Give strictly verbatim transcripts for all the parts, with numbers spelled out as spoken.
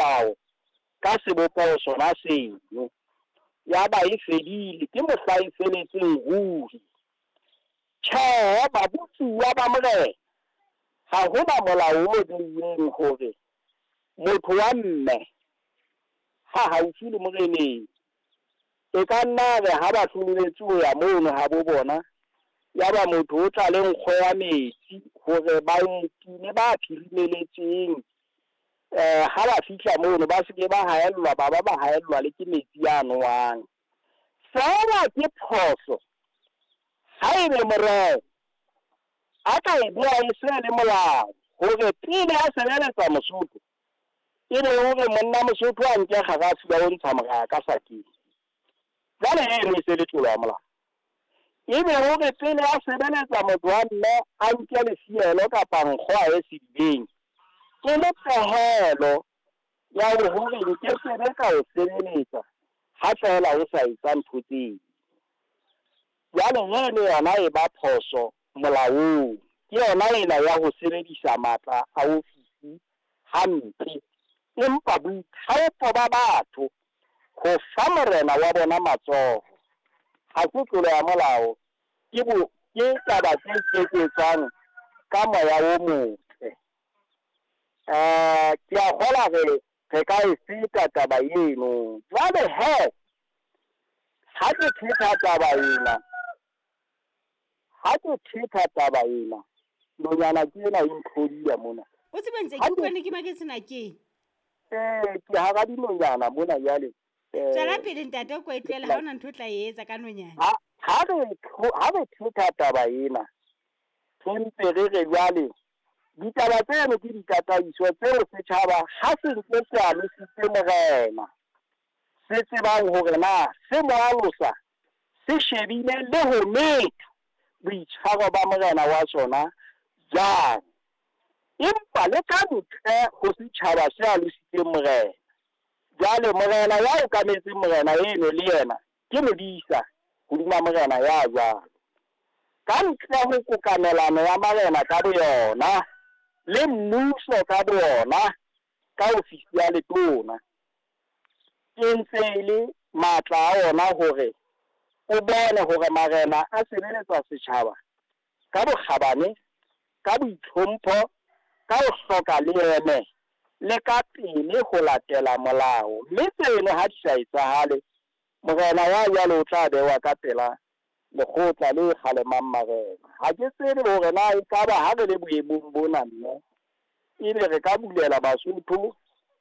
molao ka sebopeho sona seno. Ya ba e fedile, ke mohla e feletseng ruri. Tjhe, babotsuwa ba morena, ha hona molao o beilweng hore motho wa mme ha haufi le moreneng e ka nna re ha ba hloletswe ho ya mono ha bo bona, ya ba motho o tla le nkgo ya metsi hore baeti le ba phirimeletseng eh ha ba fihla mono ba se ke ba haellwa, ba ba ba haellwa le ke metsi a nowang. Feela ke phoso haebe morena a ka e bea e se le molao hore pele a sebeletsa Mosotho e be hore monna Mosotho a nke kgarafu ya ho ntsha moraya ka sakeng. Jwale eno e se le tlolo ya molao. Ebe hore pele a sebeletsa motho wa mme a nke lefielo kapa nkgo a ye sedibeng, ke le pehelo ya hore nke sebe ka o sebeletsa ha feela o sa etsa ntho tseo. Jwale eno yona e ba phoso molaong. Ke yona ena ya ho sebedisa matla a ofisi hampe. Empa boithaopo ba batho ho fa morena wa bona matsoho ha se tlolo ya molao, ke bo ke taba tse iketsetsang ka moya o motle. Eh ke a kgolwa re re ka e feta taba eno. Jwale he ha ke thetha taba ena, ha ke thetha taba ena, nonyana ke ena e ntlhodiya mona. O tsebe ntse ke utlwa ne ke maketse na ke. Eh ke hara dinonyana mona jwale. Tswela pele ntate, o ko e tlohele, ha hona ntho o tla e etsa ka nonyana. Ha ha re ha re thetha taba ena, re mpe re re jwale ditaba tseno ke ditataiso tseo setjhaba ha se ntse se alositse morena, se tsebang hore na se mo alosa se shebile le ho metha boitshwaro ba morena wa sona jwang. Empa le ka ntle ho setjhaba se alositseng morena, jwale morena ya okametseng morena eno le yena ke modisa hodima morena ya jwalo. Ka ntle ho kokamelano ya marena ka boyona le mmuso ka boyona ka ofisi ya letona, ke ntse e le matla a ona hore o bone hore marena a sebeletsa setjhaba ka bokgabane, ka boitlhompho, ka ho hloka leeme le ka pele ho latela molao. Mme tseno ha di sa etsahale, morena ya jwalo o tla bewa ka pela lekgotla le kgalemang marena. Ha ke tsebe hore na ekaba ha re le boemong bona mme ebe re ka bulela Basotho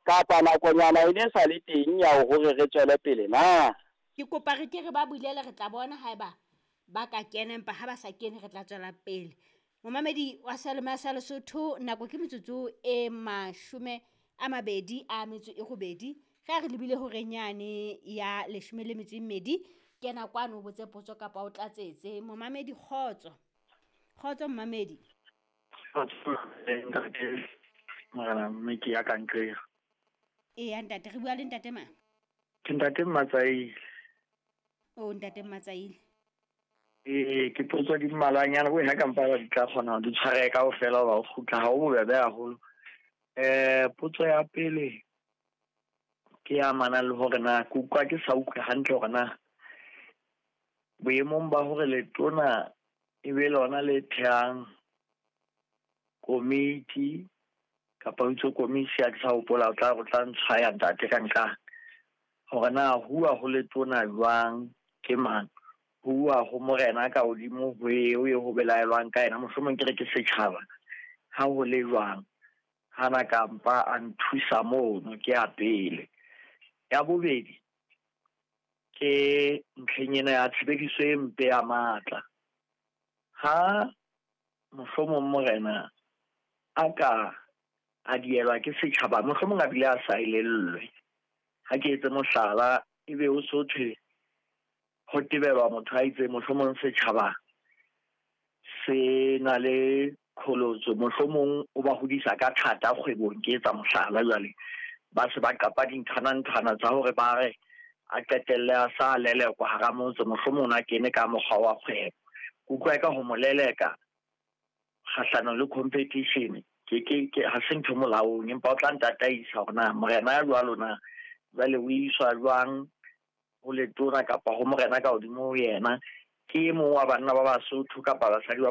kapa nakonyana e ne sa le teng ya hore re tswele pele na. Ke kopa re ke re ba bulele, re tla bona haeba ba ka kena, empa ha ba sa kene re tla tswela pele. Momamedi wa Seyalemoya sa Lesotho, nako ke metsotso e mashome a mabedi a metso e robedi. Ge re lebile horeng yane ya leshome le metso e mmedi, kena kwano o botse potso kapa o tlatsetse. Momamedi, kgotso. Kgotso momamedi. Kgotso ntate, morena mme ke ya ka nqela. Eya ntate, re bua le ntate mang? Ke ntate Mmatsaile. O ntate Mmatsaile. Ee, ke potso di mmalwanyana bo ha ka mpa ba di tla kgona ho di tshware kaofela hoba o kgutla ha o bobebe haholo. Eh potso ya pele ke ya amanang le hore na ke utlwa ke sa utlwe hantle hore na boemong ba hore letona e be lona le thehang komiti kapa ho itse komisi, ha ke sa hopola, o tla o tla ntshwaya ntate ka nqa hore na huwa ho letona jwang, ke mang, huwa ho morena ka hodimo ho eo e ho belaelwang ka yena, mohlomong ke re ke setjhaba, ha ho le jwang, hana ka mpa a nthusa mono, ke ya pele. Ya bobedi ke ntlheng ena ya tshebediso e mpe ya matla. Ha mohlomong morena a ka a dielwa ke setjhaba, mohlomong a bile a sa elellwe, ha ke etse mohlala, ebe o so thwe ho tebelwa motho a itse mohlomong setjhaba se na le kholotso, mohlomong o ba hodisa ka thata kgwebong, ke etsa mohlala jwale, ba se ba qapa dinthwana-nthwana tsa hore ba re a qetelle a sa lelekwa hara motse, mohlomong a kene ka mokgwa wa kgwebo. Ke utlwa eka ho mo leleka kgahlanong le competition ke Ke ke ke ha se ntho molaong, empa o tla ntataisa hore na morena ya jwalo na jwale o iswa jwang ho letona kapa ho morena ka hodimo ho yena. Ke e mong wa banna ba Basotho kapa basadi ba